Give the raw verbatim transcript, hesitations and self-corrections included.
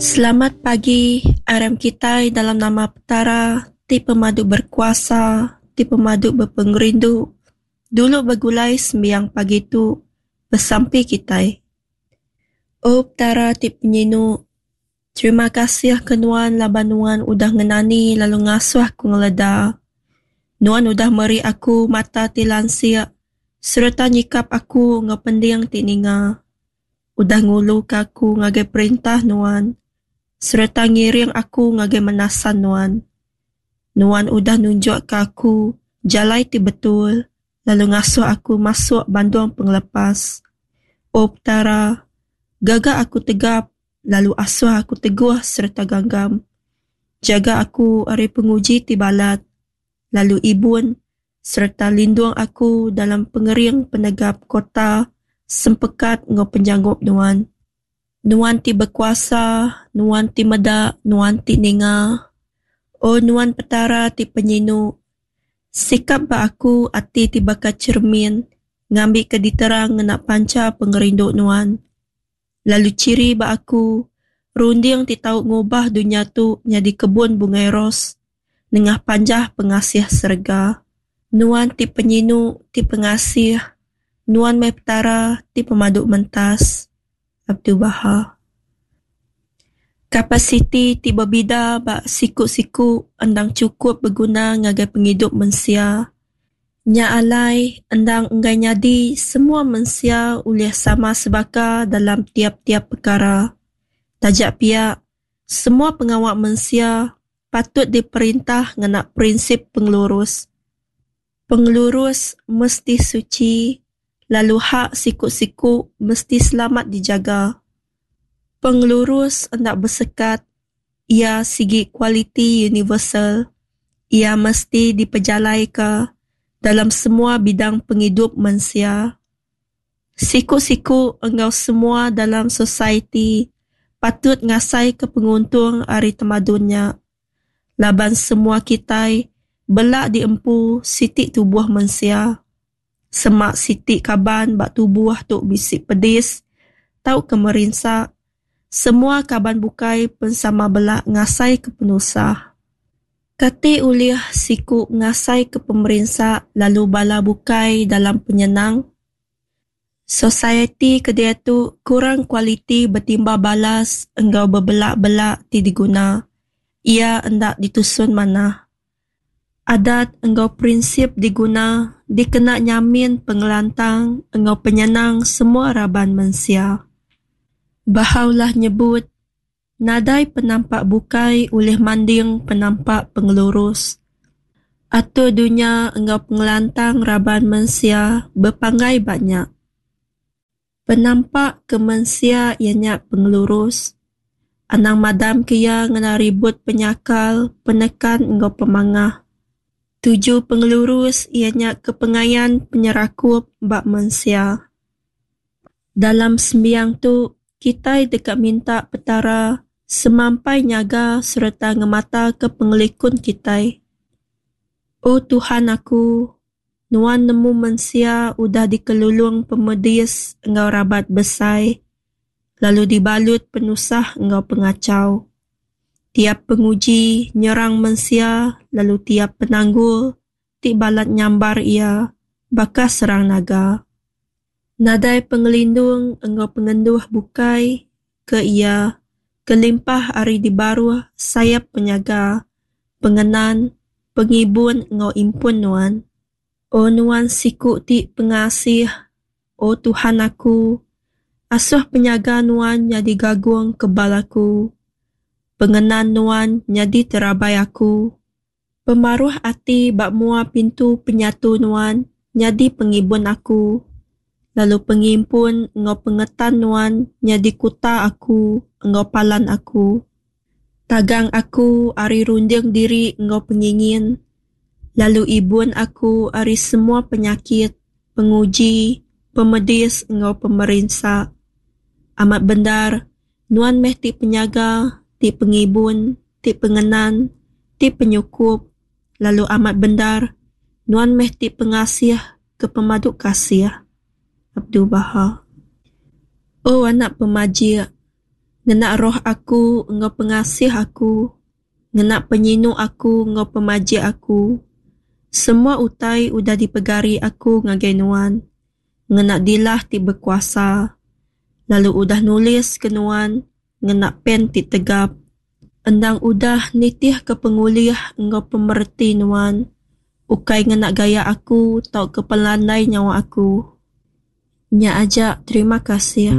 Selamat pagi, aram kitai dalam nama Petara ti pemadu berkuasa, ti pemadu bepengerindu, dulu begulai sembiang pagi tu, besampi kitai. O Petara ti penyinu, terima kasih ke nuan laban nuan udah ngenani lalu ngasuh aku ngeleda. Nuan udah meri aku mata ti lansik sereta nyikap aku enggau pending ti ninga. Udah nguluka aku ngagai perintah nuan sereta ngiring aku ngagai menasan nuan. Nuan udah nunjukka aku jalai ti betul lalu ngasuh aku masuk bandung pengelepas. O Petara, gaga aku tegap lalu asuh aku teguh sereta ganggam. Jaga aku ari penguji ti balat lalu ibun sereta lindung aku dalam pengering penegap kota sempekat enggau penyanggup nuan. Nuan ti bekuasa, nuan ti meda, nuan ti ninga. O nuan Petara ti penyinu, sikap ba aku ati ti baka cermin, ngambika diterang ngena panca pengerindu nuan. Lalu ciri ba aku, runding ti tau ngubah dunya tu nyadi kebun bungai ros, nengah panjah pengasih serega. Nuan ti penyinu, ti pengasih, nuan meh Petara ti pemadu mentas. Abdul Baha. Kapasiti ti bebida ba siku-siku endang chukup beguna ngagai pengidup mensia. Nya alai endang enggai nyadi semua mensia ulih sama sebaka dalam tiap-tiap pekara. Taja pia, semua pengawa mensia patut diperintah ngena prinsip pengelurus. Pengelurus mesti suci lalu hak siku-siku mesti selamat dijaga. Pengelurus enda besekat, ia sigi kualiti universal. Ia mesti dipejalaika dalam semua bidang pengidup mensia. Siku-siku enggau semua dalam society patut ngasaika penguntung ari tamadun nya. Laban semua kitai bela diempu siti tubuh mensia. Sema siti kaban ba tubuh tu bisi pedis tauka merinsa, semua kaban bukai pen sama bela ngasaika penusah. Kati ulih siku ngasaika pemerinsa lalu bala bukai dalam penyenang? Society ke diatu kurang kualiti betimbal balas enggau bebela-bela ti diguna. Ia enda ditusun manah. Adat enggau prinsip diguna dikena nyamin pengelantang enggau penyenang semua raban mensia. Baha'u'llah nyebut, nadai penampak bukai ulih manding penampak pengelurus. Atur dunya enggau pengelantang raban mensia bepanggai ba nya. Penampak ke mensia iya nya pengelurus. Anang madamka iya ngena ribut penyakal, penekan enggau pemangah. Tuju pengelurus iya nya kepengayan penyerakup ba mensia. Dalam sembiang tu, kitai deka minta Petara semampai nyaga sereta ngemataka pengelikun kitai. O Tuhan aku, Nuan nemu mensia udah dikelulung pemedis enggau rabat besai, lalu dibalut penusah enggau pengachau. Tiap penguji nyerang mensia lalu tiap penanggul ti balat nyambar iya baka serang naga. Nadai pengelindung enggau pengenduh bukai ke iya kelimpah ari dibaruh sayap penyaga, pengenan, pengibun enggau impun Nuan. O Nuan siku ti pengasih, O Tuhan aku, asuh penyaga Nuan nyadi gagung kebal aku. Pengenan Nuan nyadi terabai aku. Pemaruh ati ba mua pintu penyatu Nuan nyadi pengibun aku, lalu pengimpun enggau pengetan Nuan nyadi kuta aku enggau palan aku. Tagang aku ari runding diri enggau pengingin, lalu ibun aku ari semua penyakit, penguji, pemedis enggau pemerinsa. Amat bendar, Nuan meh ti penyaga, ti pengibun, ti pengenan, ti penyukup, lalu amat bendar, Nuan meh ti pengasih ke pemadu kasih. Abdul Baha. O anak pemajik, Ngena roh Aku enggau pengasih Aku, ngena penyinu Aku enggau pemajik Aku, semua utai udah dipegari Aku ngagai nuan ngena dilah ti bekuasa, lalu udah nulis ke nuan ngena pen ti tegap, endang udah nitihka pengulih enggau pemereti nuan, ukai ngena gaya Aku tauka pelandai nyawa Aku. Nya aja, terima kasih.